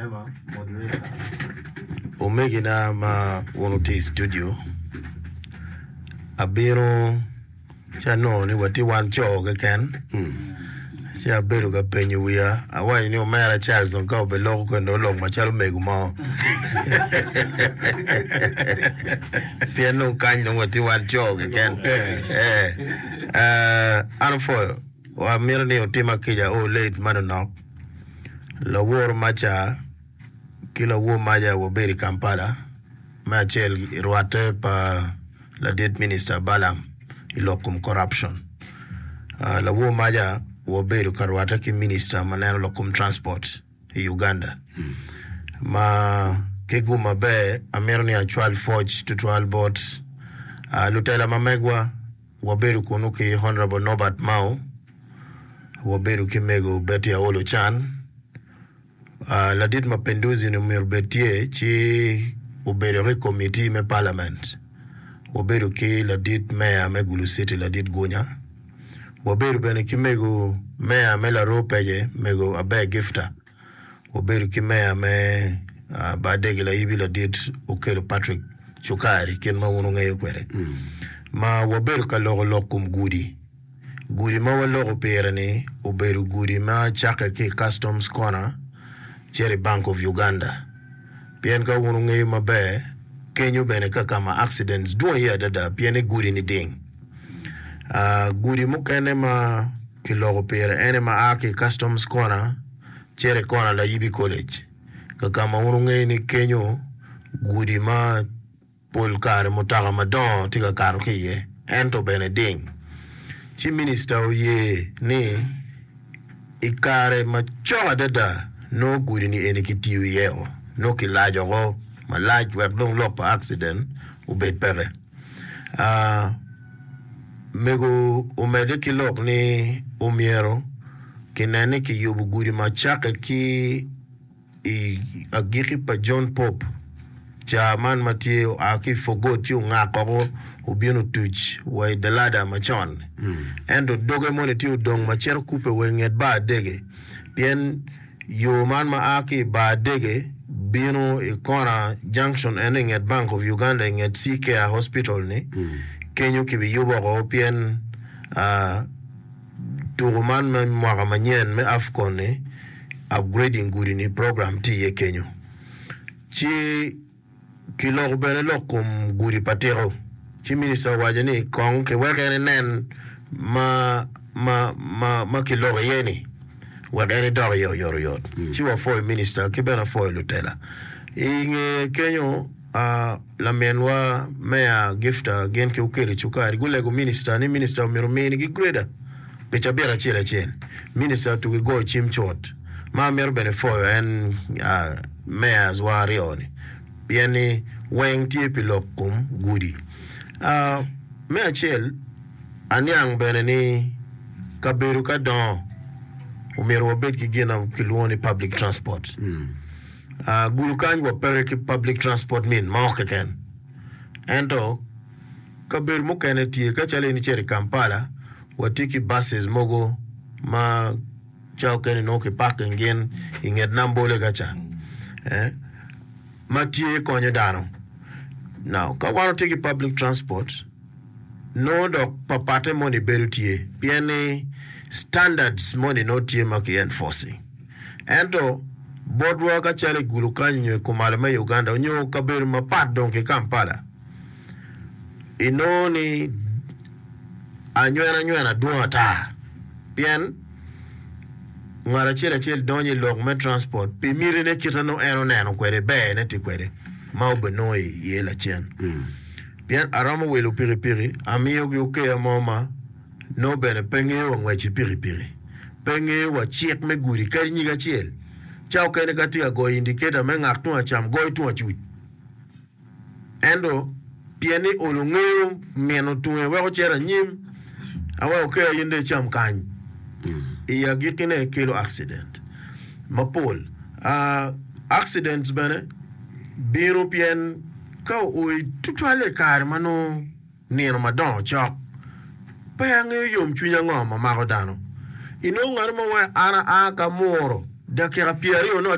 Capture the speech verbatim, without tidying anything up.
Member, moderator. Omegina ma wun wutye i studio, abino ci anongo ni watye wan co keken ci abedo ka penyo wiya awaco ni omera Charles dong ka obeloko kweni dong olok macalo mego mo pien dong kany dong watye wan co keken eh, eh, an opwoyo amito ni otima kica o late manonok lawor maca ki lawor maca wabedo i Kampala me acel i rwatte pa ladit minista Balaam i lok kom corruption. Uh, lawor maca wabedo ka rwatte ki minista ma neno lok kom transport i Uganda ma ki gum maber amito ni acwal pwoc tutwal bot uh, lutela ma megwa wabedo kunu ki Honorable Norbert Mao wabedo ki mego Betty Aol Ochan uh, ladit Mapinduzi ni myero bed tye ci obedo ki committee me parliament wabedo ki ladit meya me Gulu City ladit Gunya wabedo bene ki mego meya me Laroo Pece mego Aber Gifta wabedo ki meya me uh, Badegi Laibi ladit Okello Patrick Cukari kit ma wun wungeyo kwede ma wabedo ka loko lok kom gudi gudi ma waloko pire ni obedo gudi ma cakke ki i Customs Corner cito i Bank of Uganda pien ka wun wungeyo maber kenyo bene ka kama accidents dwong iye adada pien ni gudi ni ding uh, gudi mukene ma kiloko pire ene ma a ki i Customs Corner cito i kona Layibi College kakama wun wungeyo ni kenyo gudi ma pol kare mutoka madongo tye ka kato ki iye ento bene ding ci minista oye ni i kare macok adada nongo gudi ni eni kitiyo iye o nongo kilaco oko malac wek dong lok pa accident obed peke uh, mego omedde ki lok ni omyero kinen ni kiyubo gudi ma cakke ki i agikki pa John Pope ca man ma tye oa ki i Fogot ci ongak oko obino otuc wa i Dalada macon ento doge moni tye odong ma cito kupe wa i nget bar adege pien yo man ma a ki i bar adege bino i kona junction eno i nget Bank of Uganda i nget C-Care Hospital ni kenyo kibiyubo oko pien uh, tuko man me mwaka manyen me AFCON ni upgrading gudi ni program tye iye kenyo ci kiloko bene lok kom gudi pa tiko ci minista owaco ni kong kiwek en enen ma, ma, ma, ma kiloko iye ni wek en idok iye oyotoyot ci wapwoyo minista ki bene apwoyo lutela i nge kenyo uh, laminwa meya Gifta gin ki Okello Cukari gulego minista ni minista omyero ominigi grader pi cabit acel acel minista otugi goyo cim cut ma amito bene pwoyo en uh, mayors wa aryo ni pien ni weng tye pi lok kom gudi uh, me acel aniang bene ni kabedo ka dongo omyero wabed ki gin ma kilwongo ni public transport uh, gulu kany wapeke ki public transport min mo keken ento kabedo mukene tye ka calo in icito i Kampala watye ki buses mogo ma ca okene nongo ki parking gin i nget Nambole kaca eh, ma tye konyo dano now ka wan watye ki public transport nongo dok papatte moni bedo tye pien ni standards moni nongo tye ma ki enforcing ento botwa ka calo i gulu kany nyo i kumalo me Uganda nyo kabedo mapat dong ki Kampala inongo ni anywena nywena dwong ata pien ngat acel acel donyo i lok me transport pi mitine kite nongo en oneno kwede berne tye kwede ma obenongo iye lacen pien aromo wilo pikipiki amiyogi okeya mo ma nongo bene pe ngeyo wa ngwec ki pikipiki pe ngeyo wa cik me gudi kadi nyig acel ca okene ka tye ka goyo indicator me ngak tung acam goyo tung acuc ento pien ni olo ngeyo mino tunge weko cito anyim aweko okeya in dong icam kany i agikkine kelo accident mapol uh, accidents bene bino pien ka oi tutwalle i kare ma nongo nino madongo cok pe angeyo yomcwiny ango ma mako dano inongo ngati mo wa an aa ka muro dakika pyeraryo nongo